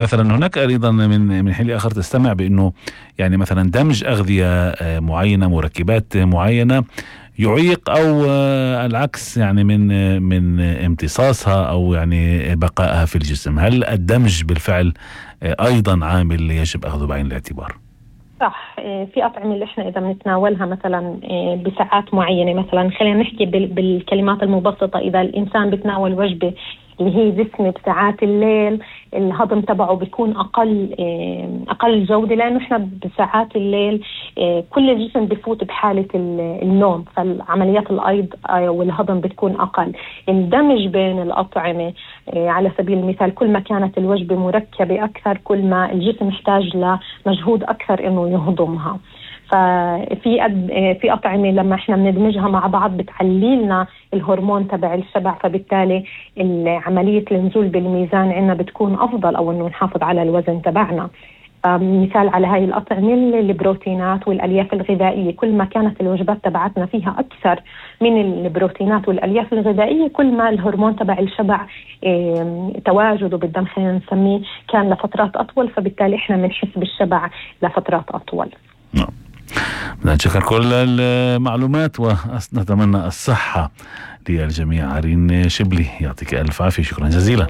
مثلا هناك أيضا من حين لآخر تستمع بأنه يعني مثلا دمج أغذية معينة، مركبات معينة يعيق أو العكس يعني من امتصاصها أو يعني بقائها في الجسم. هل الدمج بالفعل أيضا عامل يجب أخذه بعين الاعتبار؟ صح. في أطعمة اللي احنا إذا بنتناولها مثلا بساعات معينة، مثلا خلينا نحكي بالكلمات المبسطة، إذا الإنسان بتناول وجبة اللي هي دسمة بساعات الليل، الهضم تبعه بيكون أقل جودة، لأنه إحنا بساعات الليل كل الجسم بفوت بحالة النوم، فالعمليات الأيض والهضم بتكون أقل. الدمج بين الأطعمة على سبيل المثال، كل ما كانت الوجبة مركبة أكثر كل ما الجسم يحتاج لمجهود أكثر إنه يهضمها. في أطعمة لما إحنا بندمجها مع بعض بتعلي لنا الهرمون تبع الشبع، فبالتالي عملية النزول بالميزان عندنا بتكون أفضل، أو إنه نحافظ على الوزن تبعنا. مثال على هاي الأطعمة البروتينات والألياف الغذائية، كل ما كانت الوجبات تبعتنا فيها أكثر من البروتينات والألياف الغذائية كل ما الهرمون تبع الشبع تواجده بالدم خلينا نسميه كان لفترات أطول، فبالتالي إحنا بنحس بالشبع لفترات أطول. نشكر كل المعلومات ونتمنى الصحة للجميع. عرين شبلي يعطيك ألف عافية، شكرا جزيلا.